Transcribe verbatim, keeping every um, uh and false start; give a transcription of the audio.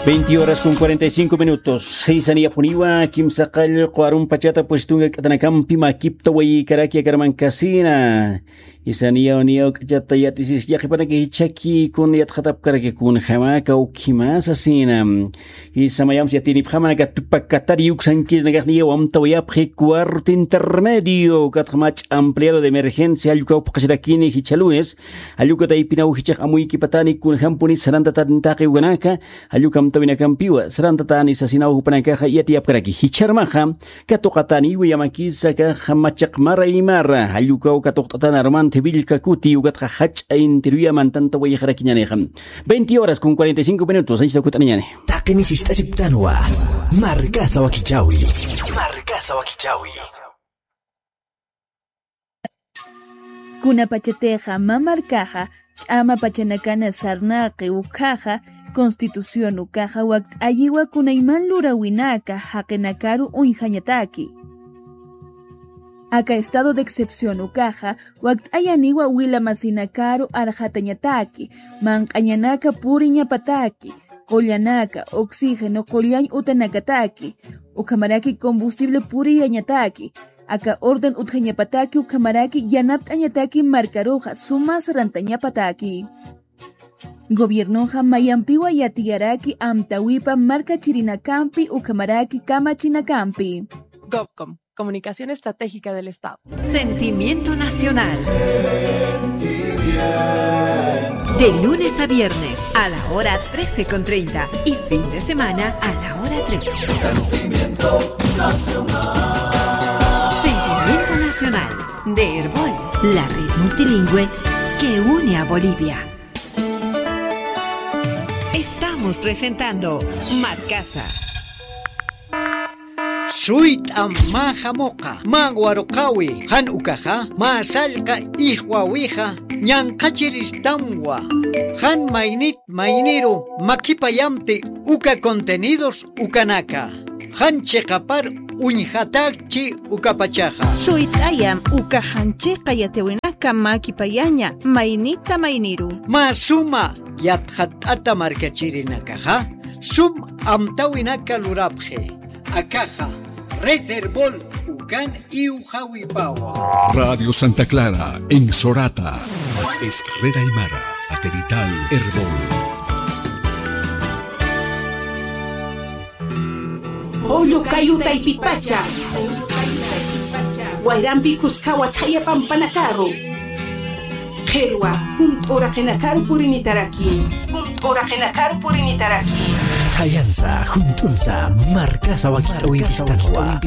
Veinte horas con cuarenta y cinco minutos. Sisaniyapuniwa kimsa qallqu arumpachata puestunka k'atanakampi makipta wayikaraki akarmankasina. Isaniyaw niyaw k'achata yatisis yaqipanaki jichhaki kun yatxatapkaraki kunjama kawkhimasasina. Isamayams yatinipxamanaka tupakatari yuksankirnakaxniyaw amtawayapxi cuarto intermedio katxamach ampliado de emergencia allkukaw phuqasirakini jichha lunes. Allukataypinaw jichhax amuykipatani kunjampuni sarantatani taqi ukanaka. Allukam tawinakampiwa sarantatani sasinaw jupanakaxa yatiyapkaraki jichharmaxa. Katuqatani wiyamakisa kaxa machaq mara imara allukaw katuqt'atana armanthi willkakuti ukatxa jach'a intiruyaman tantawayxarakiñanixa. Veinte horas con cuarenta y cinco minutos anchita kut'aniñani. Taqini sist'asiptanwa. Markasa wakichawi. Markasa wakichawi. Kunapachatixa mä markaxa ch'ama pachanakana sarnaqi ukhaxa, constitución ukaxa wakt'ayiwa kunayman luräwinaka jaqinakaru uñjañataki. Aka estado de excepción ukaxa wakt'ayaniwa wilamasinakaru arxatañataki, manq'añanaka puriñapataki, qullanaka, oxígeno qullañ utanakataki, ukhamaraki combustible puriyañataki, aka orden utjañapataki ukhamaraki yanapt'añataki markaruxa suma sarantañapataki. Gobiernoxa mayampiwa yatiyaraki amtawipa markachirinakampi ukhamaraki kamachinakampi. Gobcom, Comunicación Estratégica del Estado. Sentimiento Nacional. De lunes a viernes a la hora trece con treinta y fin de semana a la hora trece. Sentimiento Nacional. Sentimiento Nacional de Erbol, la red multilingüe que une a Bolivia. Estamos presentando Markasa. Suyt'am mä jamuqa, mä waruqäwi, jan ukaxa, mä sallqa ijwawixa, ñanqhachiristamwa, jan maynit mayniru makipayamti uka contenidos ukanaka, jan chiqapar uñjatakchi ukapachaxa. Suyt'ayam uka jan chiqa yatiwinaka makipayaña maynita mayniru. Mä suma yatxatt'ata markachirinakaxa, sum amtawinaka lurapxi. Akaxa, Red Erbol ukan iwxawipawa. Radio Santa Clara, en Sorata. Es Red Aymara, satelital Erbol. Julio Cayu Taypipacha. Wayrampi kuskawa thaya pampanakaru. Qhirwa, junt'uraqinakaru purinitaraki. Junt'uraqinakaru purinitaraki. Thayansa, junt'unsa, markasa wakit'awimpistanwa.